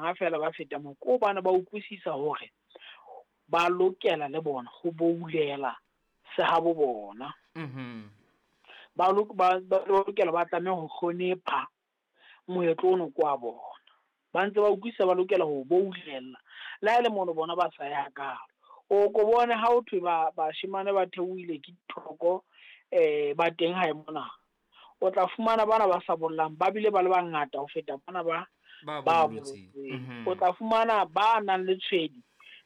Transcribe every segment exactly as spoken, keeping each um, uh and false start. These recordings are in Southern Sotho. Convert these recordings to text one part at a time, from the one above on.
banga feela ba feta moo, ke hobane ba utlwisisa hore ba lokela le bona ho boulela sehabo bona. Mhm. Ba ba ba lokela ba tlameha ho hlonepha moetlo ono ke wa bona. Ba ntse ba utlwisisa ba lokela ho boulella le ha e le mono bona ba sa ya hakalo. O ko bone ha ho thwe ba bashemane ba theohile ke dithoko, eh ba teng hae mona. O tla fumana bana ba sa bollang ba bile ba le bangata ho feta bana ba Ba ba bolotseng. bolotseng. Mhm. O tla fumana ba nang le tshwedi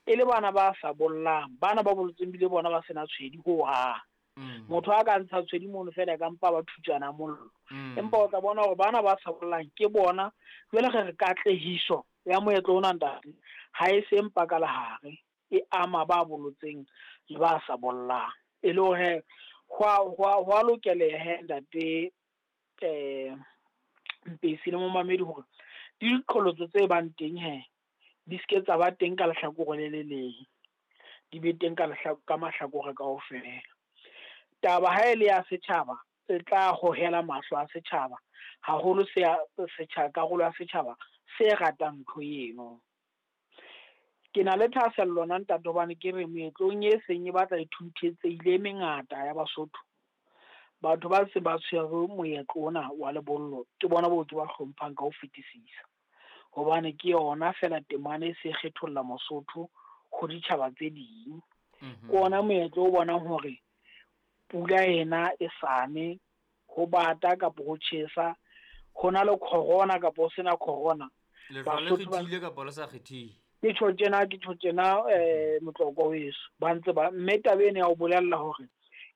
e le bana ba sa bollang, bana ba bolotseng bile bona ba sena tshwedi hohang. Mm. Motho a ka ntsha tshwedi mono feela e ka mpa ba thutjana mollo. Mm. Empa o tla bona hore bana ba sa bollang ke bona jwale re re katlehiso ya moetlo ona ntate ha e se mpa ka lehare, e ama ba bolotseng le ba sa bollang. E le hore ho a ho a ho a lokeleha he ntate, eh Mpesi le momamedi hore le diqholotso tse bang teng he di ske tsa ba teng ka lehlakore le le leng, di be teng ka ka mahlakore kaofela. Taba ha e le ya setjhaba e tla hohela mahlo a setjhaba haholo se ya setjhaba, karolo ya setjhaba se ratang ntho eno. Ke na le thahasello nna ntate hobane ke re meetlong e seng e batla e thunthetsehile e mengata ya Basotho. Batho ba se ba tshwere moetlo ona wa lebollo ke bona boo ke ba hlomphang ka ho fetisisa. Hobane ke yona feela temane e se kgetholla Mosotho ho ditjhaba tse ding. Mhm. Ke ona moetlo o bonang hore pula ena e sane, ho bata kapo ho tjhesa, ho na le corona kapo ho sena corona. Lehlwa le Basotho ba kgethile kapa le sa kgethehe? Ke tjho tjena, ke tjho tjena, eh motlokwa weso. Ba ntse ba, mme taba ena ya ho bolella hore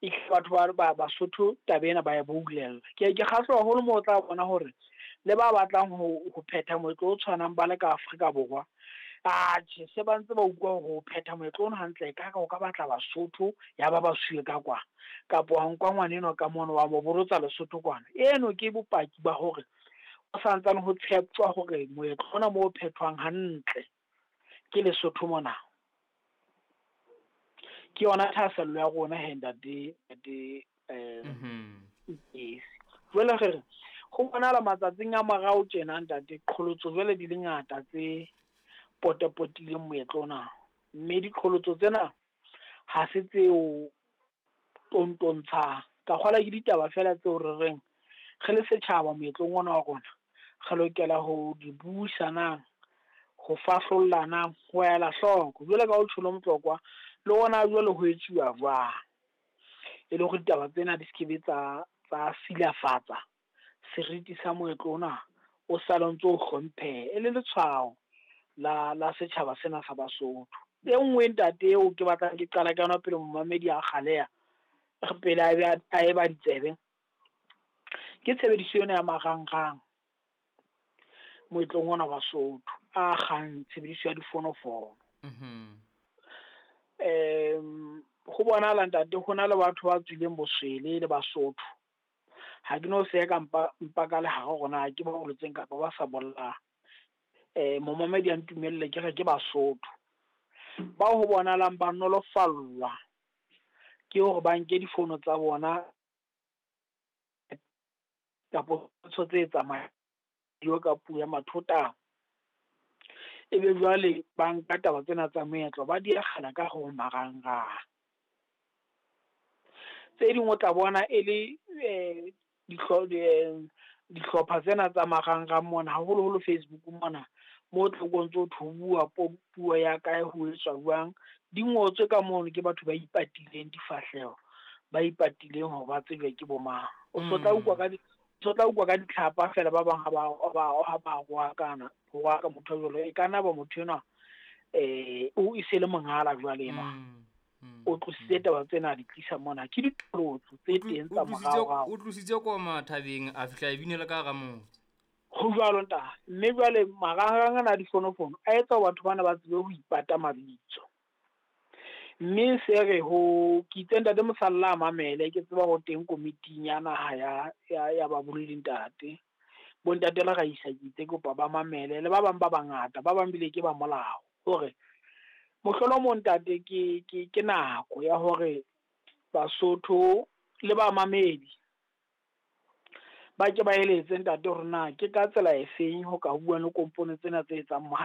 e batho ba, ba Basotho taba ena ba e boulella. Ke ke kgahlwa haholo moo o tla bona hore le ba batlang ho, ho phetha moetlo o tshwanang ba le ka Afrika Borwa, atjhe se ba ntse ba utlwa hore ho phetha moetlo ono hantle ka ka o ka batla Basotho ya ba ba suwe ka kwana, kapo wa nka ngwanenwa ka mono wa mo bolotsa Lesotho kwana. Eno ke bopaki ba hore ho santsane ho tsheptjwa hore moetlo ona moo o phethwang hantle ke Lesotho mona. Ke yona thahasello ya rona he ntate, ntate, eh, Mhm. Mpesi. Jwale re re ho bonahala matsatsing a morao tjena ntate, qholotso jwale di le ngata tse potapotileng moetlo ona. Mme diqholotso tsena ha se tseo tontontshang. Ka kgolwa ke ditaba feela tseo re reng re le setjhaba moetlong ona wa rona re lokela ho di buisanang, ho fahlollanang, ho ela hloko. Jwale ka o tjholo motlokwa le ona jwale ho etsuwa jwang, e le hore ditaba tsena di skebe tsa, tsa silafatsa seriti sa moetlo ona o sale o ntso o hlompheha e le letshwao la, la setjhaba sena sa Basotho. E nngwe ntate eo ke batlang ke qala ka yona pele momamedi a kgaleha pele a be a eba ditsebe, ke tshebediso ena ya marangrang moetlong ona wa Basotho a kgang tshebediso ya difonofono. Mhm. Em, ho bonahala ntate ho na le batho ba tswileng boswele le Basotho. Ha ke no se ka mpa, mpa ka lehare hore na ke ba bolotseng kapa ba sa bollang. Eh, momamedi a ntumelle ke re ke Basotho. Bao ho bonahalang ba nolofallwa ke hore ba nke difono tsa bona kapo ntho tse tsamayang ka puo ya mathota. Ebe jwale ba nka taba tsena tsa moetlo ba di akgela ka ho marangrang. Tse ding o tla bona e le, eh, dihlo-, eh, dihlopha tsena tsa marangrang mona, haholoholo Facebook mona, mo tlo o ntso ho bua puo ya kae ho etswa jwang, di ngotswe ka mono ke batho ba ipatileng difahleho, ba ipatileng hore ba tsejwe ke bo mang. O so tla utlwa ka di, so tla utlwa ka ditlhapa feela ba bang ha ba, ha ba, ha ba roakana, ho roaka motho jwalo, e ka nna ba motho enwa, eh, o e se le mongala jwale enwa. Mm, mm, O tlositse mm. taba tsena a di tlisa mona. Ke diqholotso tse O tlo-, teng tsa o tlositse morao-rao. O tlositse koma thabeng, a fihla e binela ka hara motse. Ho jwalo ntate. Mme jwale marangrang ana a difonofono a etsa hore batho bana ba tsebe ho ipata mabitso. Mme se re ho ke itse ntate Mosalla a mamele, ke tseba ho teng komiting ya naha ya, ya, ya babolli ntate. Bontate le Raisa ke itse kopa ba mamele le ba bang ba bangata, ba bang bile ke ba molao. Hore mohlolomong ntate ke, ke, ke nako ya hore Basotho le ba mamedi ba ke ba eletse ntate hore na ke ka tsela efeng ho ka bua le kompone tsena tse etsang